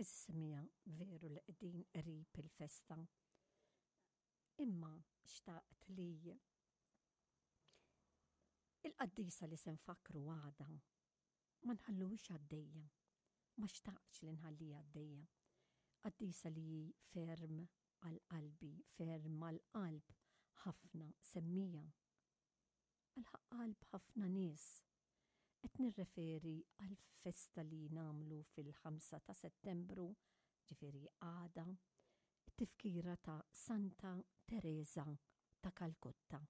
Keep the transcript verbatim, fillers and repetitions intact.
Għeżież semmiegħa, veru li qegħdin qrib il-festa. Imma xtaqt li il-qaddisa li se nfakkru għada ma nħalluhiex għaddejja. Ma xtaqtx li nħalliha għaddejja. Qaddisa li ferm għal qalbi, ferm għal qalb ħafna semmiegħa. Għal qalb ħafna nies. Qed nirreferi għal festa li nagħmlu fil-ħamsa ta' Settembru, ġifieri għada, tifkira ta' Santa Teresa ta' Kalkutta.